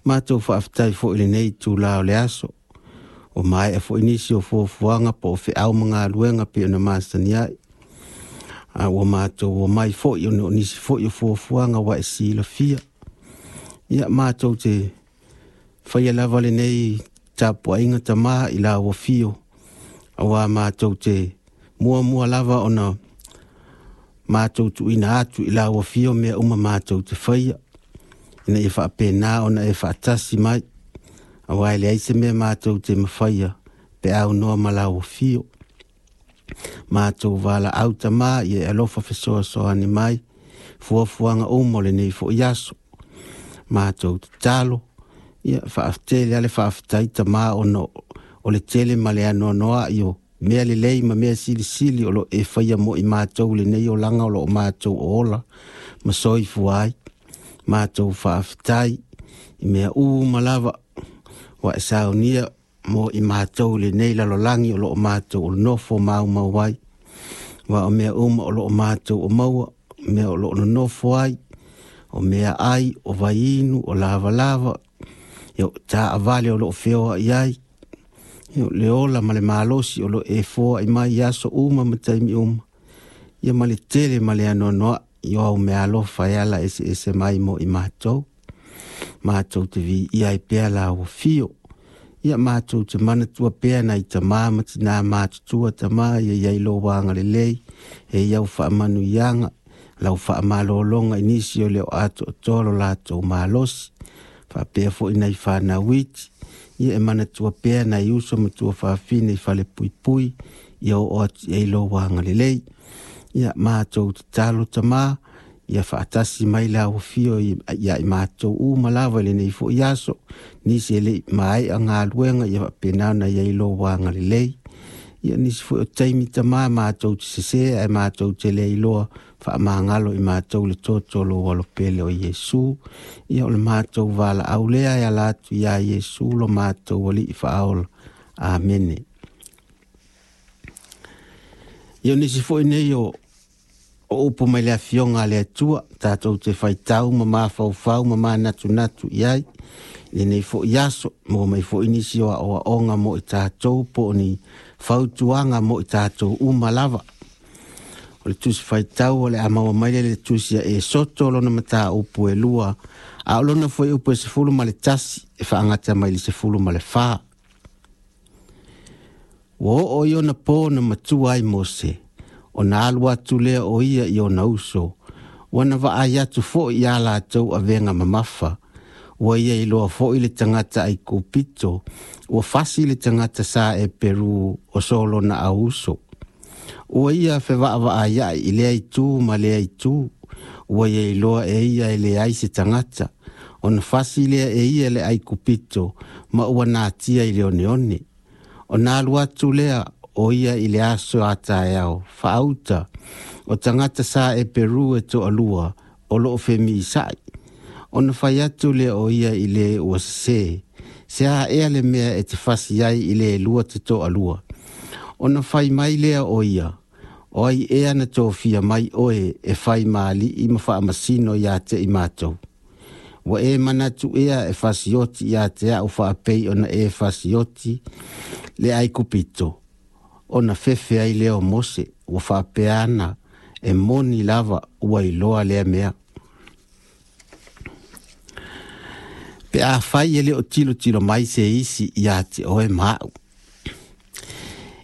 Matou faafetai foi i lenei itulā o le aso, ua maea foi nisi o fuafuaga po o feau ma galuega pei ona masani ai, a ua matou omai foi ona o nisi foi o fuafuaga ua e silafia. Ia, matou te faia lava lenei tapuaiga Tamā i lau afio, auā matou te muamua lava ona matou tuuina atu i lau afio mea uma matou te faia, ina ia faapena ona e faatasi mai, auā e leai se mea matou te mafaia pe a aunoa ma lau afio. Matou valaau Tamā ia e alofa fesoasoani mai fuafuaga uma o lenei foi aso. Matou tatalo, ia faatele lava le faafetai Tamā ona o le tele ma le anoanoa'i o mea lelei ma mea silisili o lo o e faia mo i matou i lenei olaga o lo o matou ola ma soifua ai. Matou faafetai i mea uma lava ua e saunia mo i matou i lenei lalolagi o lo o matou nofo maumau ai. Aua o mea uma o lo o matou o maua, o mea o lo o nonofo ai, o meaai, o vaiinu, o lavalava, ia o taavale o lo o feoai ai, ia o le ola ma le malosi o lo o e foai mai i aso uma ma taimi uma, ia ma le tele ma le anoanoai o au meaalofa e ala eseese mai mo i matou. Matou te viia ai pea lau afio. Ia matou te manatua pea nai tamā ma tinā matutua Tamā ia i ai lou agalelei, e i au faamanuiaga, lau faamalologa i nisi o le o atoatoa lo latou malosi, faapea foi nai fanau iti, ia e manatua pea nai uso ma tuafafine i falepuipui, ia oo atu i ai lou agalelei. Ia matou tatalo Tamā, ia faatasi mai lau afio ia i matou uma lava i lenei foi aso, nisi e le i maea galuega ia faapena ona i ai lou agalelei. Ia nisi foi o taimi Tamā matou te sesē ae matou te le iloa, faamagalo i matou le toto o lou alopele o Iesu. Ia o le matou valaau lea e ala atu iā Iesu lo matou Alii faaola. Amene. Ia o nisi foi nei o o upu mai le Afioga a le Atua, tatou te faitau ma mafaufau ma manatunatu i ai i lenei foi aso, maua mai foi nisi o aoaoga mo i tatou po o ni fautuaga mo i tatou uma lava. O le tusi faitau o le a maua mai lea i le tusi a Esoto lona mataupu e 2, a o lona fuaiupu e 11 e faagata mai i le 14. Ua oo i ona po na matua ai Mose, ona alu atu lea o ia i ona uso, ua na vaai atu foi iā latou avega mamafa, ua ia iloa foi le tagata Aikupito, ua fasi le tagata sa Eperu o so lona auuso. Ua ia fevaavaaia'i i lea itu ma lea itu, ua ia iloa e ia e leai se tagata, ona fasi lea e ia le Aikupito ma ua natia i le oneone. Ona alu atu lea o ia i le aso a taeao, faauta, o tagata sa Eperu e toalua o lo o femisa'i. Ona fai atu lea o ia i le ua sesē, Se a ea le mea e te fasi ai i le lua te toalua? Ona fai mai lea o ia, O ai ea na tofia mai oe e fai ma alii ma faamasino iā te i matou? Ua e manatu ea e fasioti iā te a'u faapei ona e fasioti le Aikupito? Ona fefe ai lea o Mose, ua faapea ana, E moni lava ua iloa lea mea. Pe afai e le o tilotilo mai se isi iā te oe ma a'u.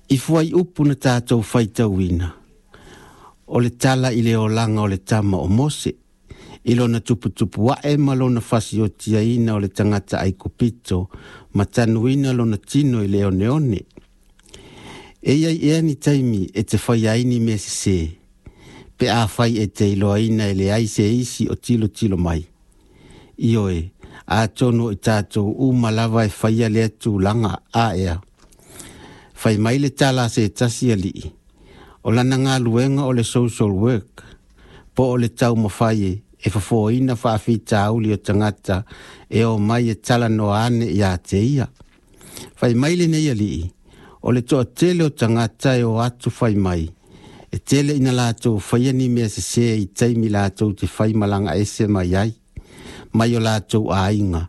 I fuaiupu na tatou faitauina, o le tala i le olaga o le tama o Mose, i lona tuputupu ae ma lona fasiotiaina o le tagata Aikupito ma tanuina lona tino i le oneone. E i ai ea ni taimi e te faia ai ni mea sesē, pe afai e te iloaina e leai se isi o tilotilo mai? Ioe, atonu o i tatou uma lava e faia lea tulaga, a ea? Fai mai le tala a se tasi alii, o lana galuega o le social work, po o le taumafai e fofoina faafitauli o tagata e omai e talanoa ane iā te ia. Fai mai lenei alii, o le toatele o tagata e o atu fai mai, e tele ina latou faia ni mea sesē i taimi latou te faimalaga ese mai ai, mai o latou aiga.